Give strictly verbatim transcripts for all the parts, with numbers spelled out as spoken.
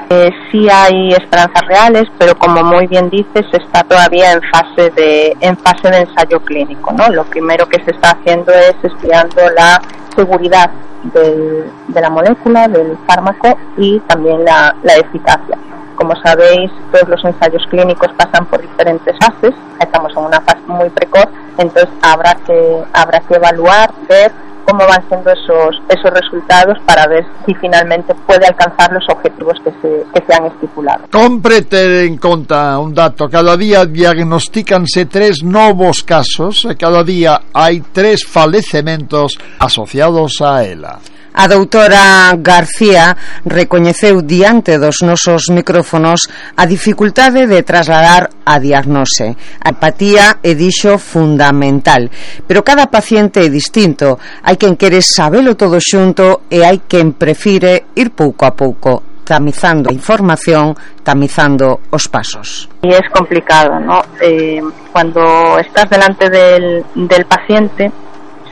Eh, sí hay esperanzas reales, pero como muy bien dices, está todavía en fase de en fase de ensayo clínico, ¿no? Lo primero que se está haciendo es estudiando la seguridad del, de la molécula, del fármaco, y también la, la eficacia. Como sabéis, todos los ensayos clínicos pasan por diferentes fases. Estamos en una fase muy precoz, entonces habrá que habrá que evaluar, ver cómo van siendo esos esos resultados para ver si finalmente puede alcanzar los objetivos que se que se han estipulado. Compre ter en conta un dato: cada día diagnostícanse tres novos casos e cada día hai tres falecementos asociados a ela. A doutora García recoñeceu diante dos nosos micrófonos a dificultade de trasladar a diagnose. A empatía é, dixo, fundamental, pero cada paciente é distinto. Hai quen quere sabelo todo xunto e hai quen prefire ir pouco a pouco, tamizando a información, tamizando os pasos. Y es complicado, ¿no? Eh, cuando estás delante del, del paciente,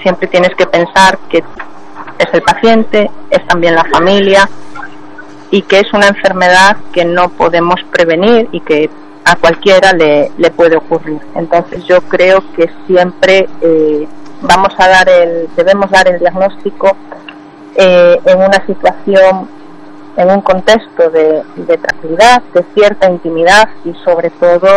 siempre tienes que pensar que es el paciente, es también la familia, y que es una enfermedad que no podemos prevenir y que a cualquiera le, le puede ocurrir. Entonces yo creo que siempre eh, vamos a dar el, debemos dar el diagnóstico eh, en una situación, en un contexto de, de tranquilidad, de cierta intimidad, y sobre todo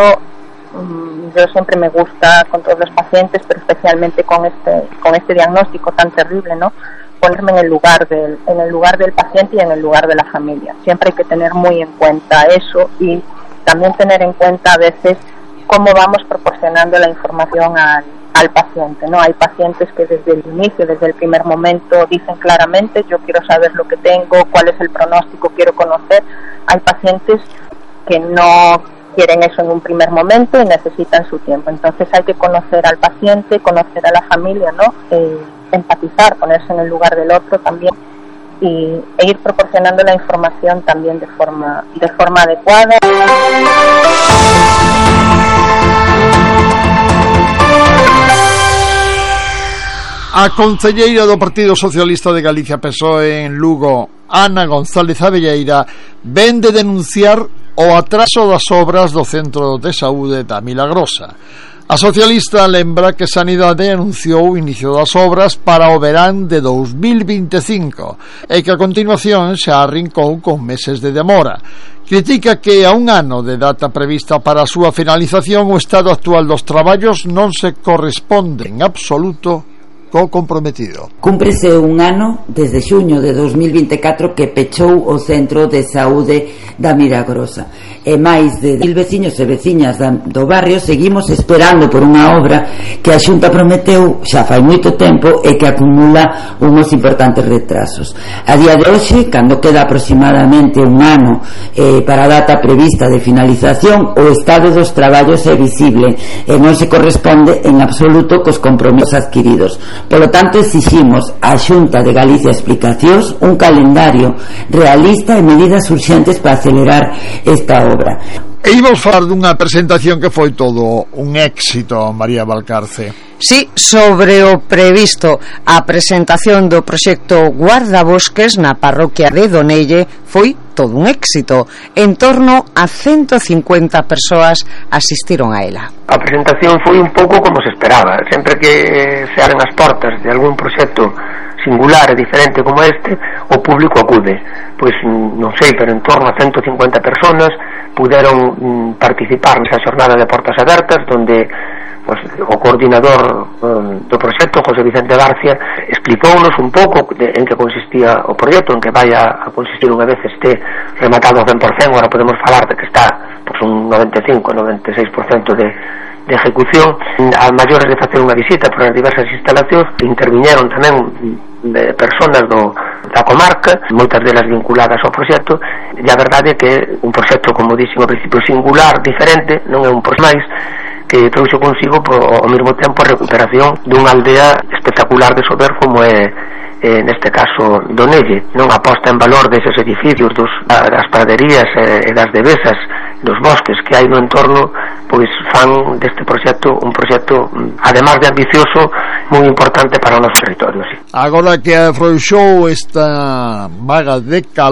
um, yo siempre me gusta con todos los pacientes, pero especialmente con este con este diagnóstico tan terrible, ¿no?, ponerme en el lugar del en el lugar del paciente y en el lugar de la familia. Siempre hay que tener muy en cuenta eso, y también tener en cuenta a veces cómo vamos proporcionando la información al, al paciente, ¿no? Hay pacientes que desde el inicio, desde el primer momento, dicen claramente: yo quiero saber lo que tengo, cuál es el pronóstico, quiero conocer. Hay pacientes que no quieren eso en un primer momento y necesitan su tiempo. Entonces hay que conocer al paciente, conocer a la familia, ¿no? Eh, empatizar, ponerse en el lugar del otro también, y e ir proporcionando la información también de forma de forma adecuada. A concelleira do Partido Socialista de Galicia P S O E en Lugo, Ana González Abelleira, ven de denunciar o atraso das obras do Centro de Saúde da Milagrosa. A socialista lembra que Sanidade anunciou o inicio das obras para o verán de dous mil vinte e cinco e que a continuación xa arrincou con meses de demora. Critica que a un ano de data prevista para a súa finalización o estado actual dos traballos non se corresponde en absoluto co comprometido. Cúmprese un ano desde xuño de dous mil vinte e catro que pechou o Centro de Saúde da Milagrosa, e máis de mil veciños e veciñas do barrio seguimos esperando por unha obra que a Xunta prometeu xa fai moito tempo e que acumula uns importantes retrasos. A día de hoxe, cando queda aproximadamente un ano eh, para a data prevista de finalización, o estado dos traballos é visible e non se corresponde en absoluto cos compromisos adquiridos. Polo tanto, exiximos á Xunta de Galicia explicacións, un calendario realista e medidas urxentes para acelerar esta obra. E íbamos falar dunha presentación que foi todo un éxito, María Valcarce. Sí, sobre o previsto, a presentación do proxecto Guardabosques na parroquia de Donelle foi todo un éxito. En torno a ciento cincuenta persoas asistiron a ela. A presentación foi un pouco como se esperaba. Sempre que se abren as portas de algún proxecto singular e diferente como este, o público acude. Pois non sei, pero en torno a ciento cincuenta personas puderon participar nesa xornada de portas abertas, donde pues, o coordinador um, do proxecto, José Vicente García, explicounos un pouco de, en que consistía o proxecto, en que vai a, a consistir unha vez este rematado ao cen por cento. Agora podemos falar de que está pues, un noventa e cinco, noventa e seis por cento de, de ejecución. A maiores de facer unha visita por as diversas instalacións, interviñeron tamén de personas do, da comarca, moitas delas vinculadas ao proxecto, e a verdade é que un proxecto, como dixen ao principio, singular, diferente, non é un proxecto máis que trouxe consigo po, ao mesmo tempo a recuperación dunha aldea espectacular de Sober como é, é neste caso Donelle, non aposta en valor deses edificios dos, das praderías e das devesas, dos bosques que hai no entorno, pois fan deste proxecto un proxecto, además de ambicioso, moi importante para o noso territorio. Sí. Agora que afrouxou esta vaga de calor,